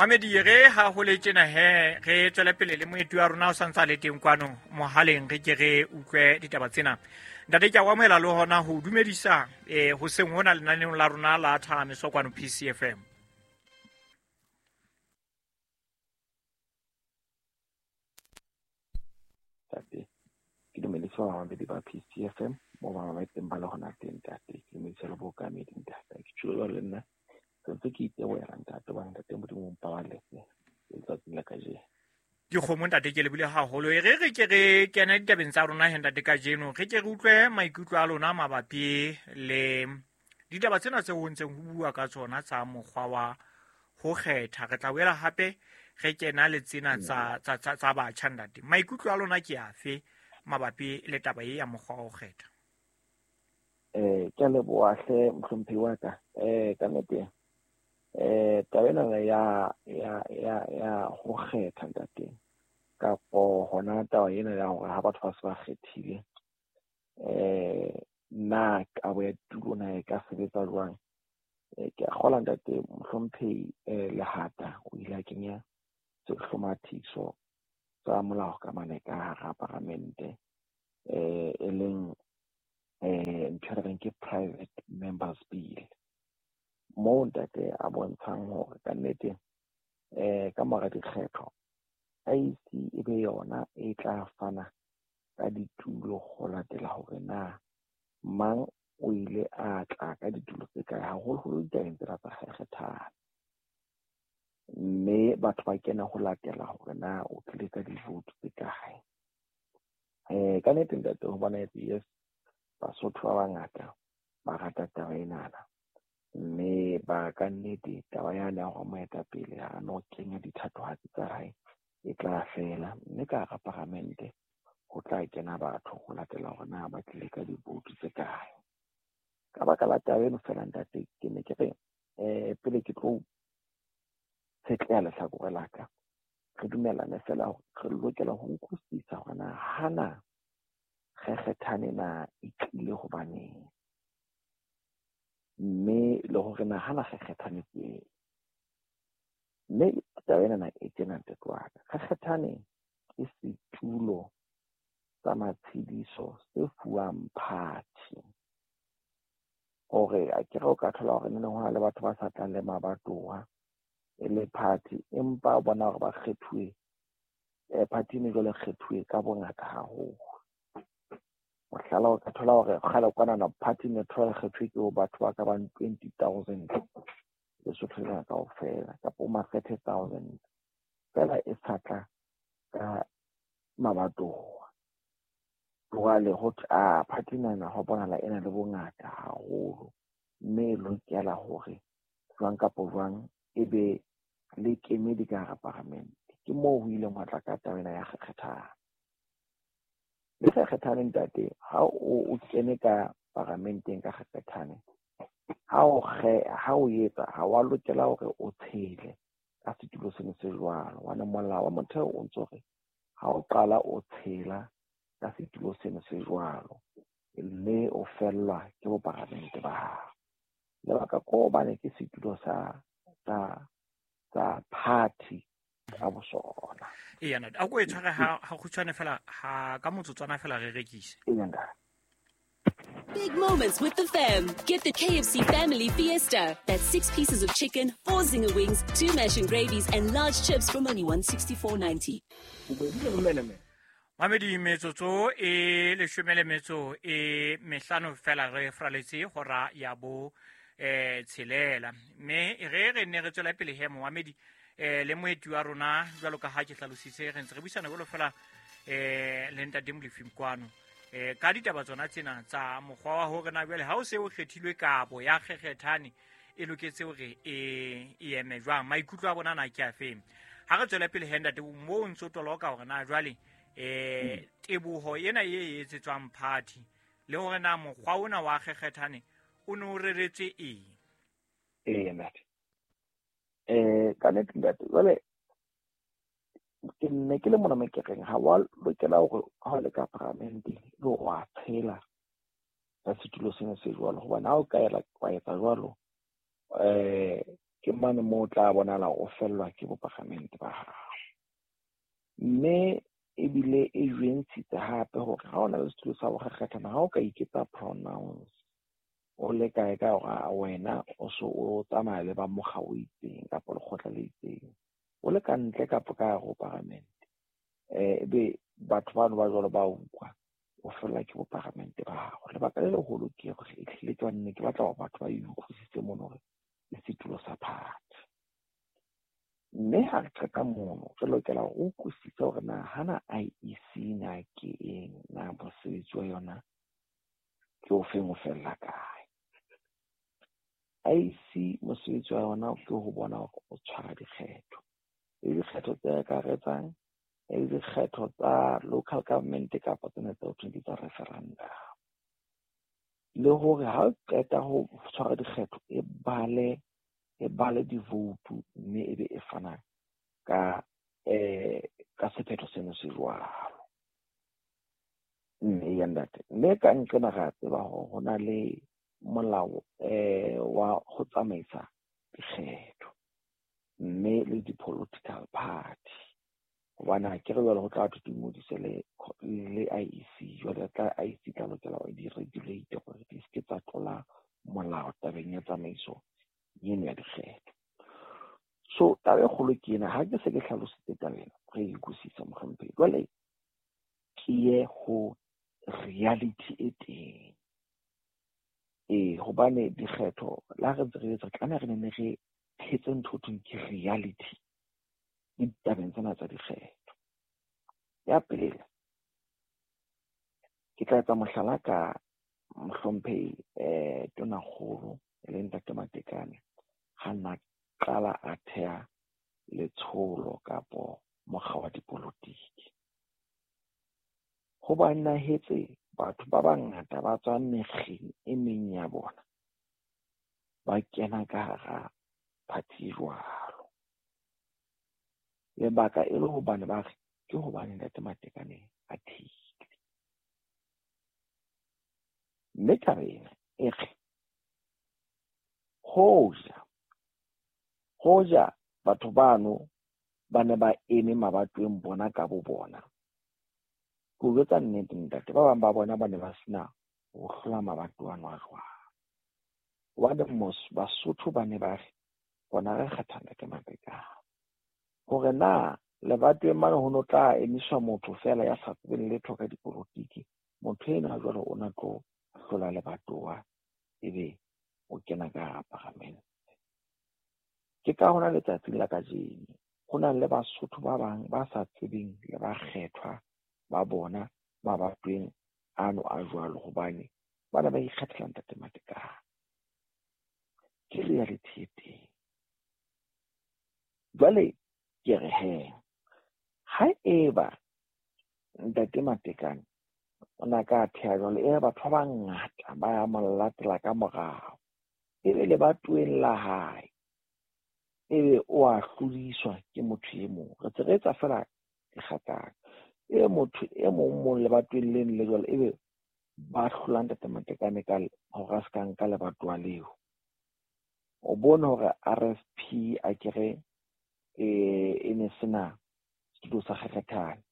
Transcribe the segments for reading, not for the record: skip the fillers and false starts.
Mamedi re ha ho le tjena he re tswele pele le moeti wa rona o santse a le teng kwano mohaleng, re ke re utlwe ditaba tsena. Ntate, ke a o amohela le hona ho dumedisa hoseng hona lenaneong la rona la Thahamiso kwano PCFM. Ntate, ke dumedisa bamamedi ba PCFM mo ba mametseng ba le hona teng, ntate. Ke dumedisa le bookamedi, ntate. Ke tjho jwalo le nna sentse ke itebohela, ntate, hobane ntate Modimo o mpaballetse letsatsing la kajeno. Dikgomo, ntate, ke lebile haholo. E re re ke re kene ditabeng tsa rona he, ntate, kajeno re ke re utlwe maikutlo a lona mabapi le ditaba tsena tseo ho ntseng ho bua ka tsona tsa mokgwa wa ho kgetha. Re tla boela hape re kena le tsena tsa batjha, ntate. Maikutlo a lona ke afe mabapi le taba e ya mokgwa wa ho kgetha? Ke a leboha hle, mohlomphehi wa ka. Ka nnete taba ena ya ho kgetha, ntate, kapo hona taba ena ya hore ha batho ba se ba kgethile, na kabo ya ditulo na e ka sebetsa jwang? Ke a kgolwa, ntate, mohlomphehi Lehata o ile a kenya sehlomathiso sa molao ka mane ka hara paramente, e leng ntho e re reng ke private members bill, moo ntate a bontshang hore kannete ka mora dikgetho IEC e be yona e tla fana ka ditulo ho latela hore na mang o ile a tla ka ditulo tse kae, haholoholo ditabeng tsena tsa kgethana, mme batho ba kena ho latela hore na o tlile ka di-vote tse kae. Ka nnete, ntate, ho bonahetse yes, Basotho ba bangata ba rata taba enana, mme ba ka nnete taba yane ya hore moetapele ha no kenya dithatohatsi tsa hae e tla fela, mme ka hara paramente ho tla kena batho ho latela hore na ba tlile ka di-vote tse kae. Ka baka la taba eno fela, ntate, ke ne ke re pele ke tlo tshetleha lehlakore la ka, re dumellane fela hore re lokela ho utlwisisa hore na hana kgekgethane na e tlile hobaneng, mme le hore na hana kgekgethane ke eng. Mme taba enana e tjena, ntate wa ka, kgekgethane ke setulo sa matshediso se fuwang party, hore akere o ka thola hore neneng hona le batho ba sa tlang le mabatowa e le party, empa o bona hore ba kgethuwe, party eno jwale e kgethuwe ka bongata haholo. Mohlala, o ka thola hore kgale kwanana party ne thola kgethuwe ke batho ba ka bang 20,000 Lesotho lena kaofela, kapa ma 30,000 fela, e sa tla ka mabatowa. Jwale ho thwe a party nana ho bonahala ena le bongata haholo, mme e lokela hore jwang kapa jwang e be le kemedi ka hara paramente. Ke moo ho ileng hwa tla ka taba ena ya kgekgethane. Le kgekgethane, ntate, ha o kene ka paramenteng ka kgekgethane, ha o etsa ha wa lokela hore o tshele ka setulo seno se jwalo, hobane molao wa motheo o ntso re ha o qala o tshela ka setulo seno se jwalo, mme o fellwa ke boparamente ba hao. Lebaka ke hobane ke setulo sa party ka bosona. Eya, ntate, a ko e tshware ha kgutshwane fela, ha ka motsotswana fela re rekise. Eya, ntate. Big moments with the fam. Get the KFC Family Fiesta. That's 6 pieces of chicken, 4 zinger wings, 2 mash and gravies, and large chips from only $164.90. Mamedi, metsotso e leshome le metso e mehlano fela re fraletse hora ya bo tshelela. Mme re re ne re tswela pele he, momamedi, le moeti wa rona jwalo ka ha ke hlalositse, re ntse re buisana jwalo fela le ntate Molefi kwano ka ditaba tsona tsena tsa mokgwa wa hore na jwale ha o se o kgethilwe kabo ya kgekgethane e loketse hore e eme jwang, maikutlo a bona na ke a feng. Ha re tswele pele he, ntate, mo o ntso toloka hore na jwale teboho ena e etsetswang party le hore na mokgwa ona wa kgekgethane o ne o reretswe eng. Ee, ntate. Ka nnete, ntate, jwale ke nne ke le mona mo ke reng ha wa lokela hore ha o le ka paramenteng ebe wa tshela ka setulo sena se jwalo, hobane ha o ka ela wa etsa jwalo, Ke mane moo o tla bonahala o fellwa ke bopalamente ba hao. Mme ebile e jwentshitse hape hore ha o na le setulo sa bokgekgethana, ha o ka iketsa pronounce o le kae ka hore wena o so o tsamaya le ba mokga o itseng kapa lekgotla le itseng, o le ka ntle kapa ka hare ho paramente, ebe batho bano ba jwalo ba utlwa, o fellwa ke bopalamente ba hao. Lebaka le leholo ke hore ehlile ke ne ke batla hore batho ba e utlwisise mono hore ke setulo sa party. Mme ha re qeta mono, re lokela hore o utlwisise hore na hana IEC na ke eng, na mosebetsi wa yona ke o feng, o fella kae. IEC mosebetsi wa yona ke ho bona hore o tshwara dikgetho, le dikgetho tse akaretsang, le dikgetho tsa local government kapa tsena tse ho thweng ke tsa referendum. Le hore ha o qeta ho tshwara dikgetho, e bale di-vote mme ebe e fana ka ka sephetho seno se jwalo. Mme ya ntate, mme ka nqena re a tseba hore ho na le molao wa ho tsamaisa dikgetho mme le di-political party. Hobane ha ke re jwale ho tla thwe di ngodise le IEC, jwale tla IEC tla lokela hore di regulate hore di se ke tsa tlola molao tabeng ya tsamaiso eno ya dikgetho. So taba e kgolo ke ena, ha ke se ke hlalositse taba ena, re e utlwisisa mohlomphehi. Jwale ke ye ho reality e teng. Hobane dikgetho le ha re ntse re etsa, tlameha re nne re phetse ntho ho thweng ke reality ditabeng tsena tsa dikgetho. Ya pele, ke tla etsa mohlala ka mohlomphehi Tonakgolo e leng Ntate Matekane, ha nna qala a theha letsholo kapo mokga wa dipolotiki. Ho bonahetse batho ba bangata ba tswang mekgeng e meng ya bona ba kena ka hara party jwalo. Lebaka e le hobane ba re ke hobane Ntate Matekane a thehile. Mme taba ena e re hoja batho bano ba ne ba eme mabatoweng bona ka bo bona, ke o jwetsa nnete ntate, ba bang ba bona ba ne ba sena ho hlola mabatowa ano a jwalo. Hobane Basotho ba ne ba re bona re kgetha Ntate Matekane. Hore na lebatoweng mane ho no tla emiswa motho feela ya sa tsebeng letho ka dipolotiki, motho enwa jwale o na tlo hlola lebatowa ebe o kena ka hara paramente. Ke ka hona letsatsing la kajeno ho na le Basotho ba bang ba sa tsebeng le bakgethwa ba bona mabatoweng ano a jwalo, hobane ba ne ba ikgethela Ntate Matekane. Ke reality e teng. Jwale ke re he, ha eba Ntate Matekane o na ka theha jwalo, e batho ba bangata ba ya mo latela ka morao, ebe lebatoweng la hae, ebe o a hlodiswa ke motho e mong. Re tse re etsa feela dikgatang. Ebe motho e mong mong lebatoweng leno le jwalo, ebe ba hlola Ntate Matekane ka hore a se ka nka lebatowa leo. O bone hore RFP akere e ne sena setulo sa kgekgethane.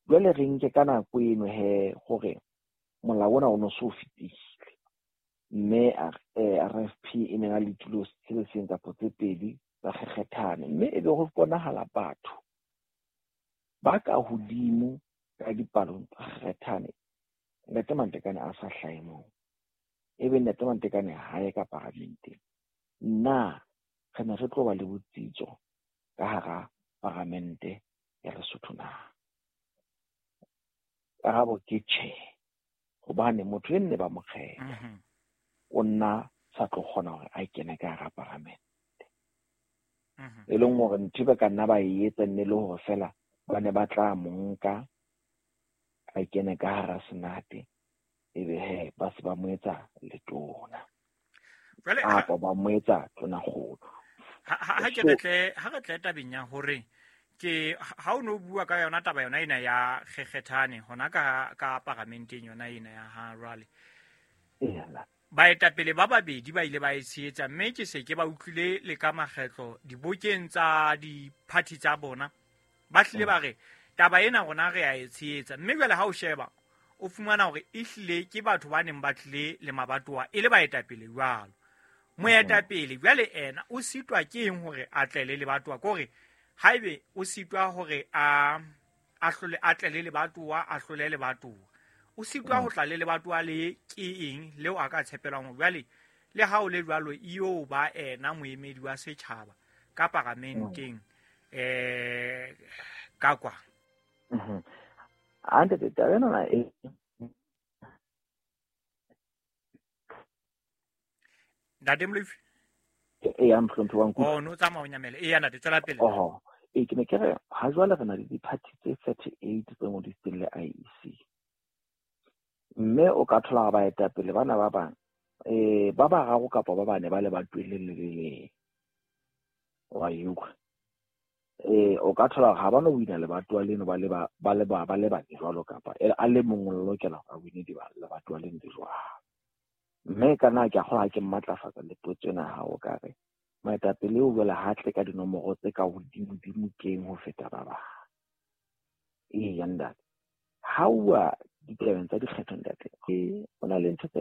Jwale re nke ka nako eno he hore molao ona o no so fetile, mme RFP e ne na le ditulo se le seng kapa tse pedi tsa kgekgethane, mme ebe ho bonahala batho ba ka hodimo ka dipalong tsa kgekgethane, Ntate Matekane a sa hlahe moo, ebe Ntate Matekane ha ye ka paramenteng. Na re ne re tlo ba le botsitso ka hara paramente ya Lesotho na? Karabo ke tjhe, hobane motho e nne ba mo kgetha o nna sa tlo kgona hore a kene ka hara paramente. E leng hore ntho ba ka nna ba e etsa nne le hore feela ba ne ba tla mo nka a kene ka hara senate, ebe he ba se ba mo etsa letona kapa ba mo etsa tonakgolo. Ha ke re tle tabeng ya hore ke ha o no bua ka yona taba yona ena ya kgekgethane hona ka paramenteng yona ena ya ha jwale. Baetapele ba babedi ba ile ba e tshehetsa, mme ke se ke ba utlwile le ka makgetlo dibokeng tsa di-party tsa bona, ba hlile ba re taba ena rona re a e tshehetsa. Mme jwale ha o sheba, o fumana hore ehlile ke batho ba neng ba tlile le mabatowa e le baetapele jwalo. Moetapele jwale ena o sitwa ke eng hore a tle le lebatowa? Ke hore haebe o sitwa hore a hlole, a tle le lebatowa, a hlole lebatowa, o sitwa ho tla le lebatowa le ke eng leo a ka tshepelwang hore jwale le ha o le jwalo eo ba ena moemedi wa setjhaba ka paramenteng ka kwa. Ntate, taba ena e Ntate Molefi? Eya, mohlomphehi wa nkutlwa. Oh, no tsamaya o nyamela. Eya, ntate, tswela pele. Oho. Ee, ke ne ke re ha jwale re na le di-party tse 38 tse ngodisitsweng le IEC. Mme o ka thola hore baetapele bana ba bang ba bararo kapa ba bane ba le batweng le le leng. Wa e utlwa? O ka thola hore ha ba no wina lebatowa leno ba le ba le ba ba le bane jwalo, kapa a le mong o lokela hore a wine lebatowa leno le jwalo. Mme ka nna ke a kgolwa ha ke mmatlafatsa le potso ena ya hao, ka re moetapele o jwale ha tle ka dinomoro tse ka hodimo-dimo keng ho feta ba bang. Eya ntate, ha uwa ditabeng tsa dikgetho ntate, o na le ntho tse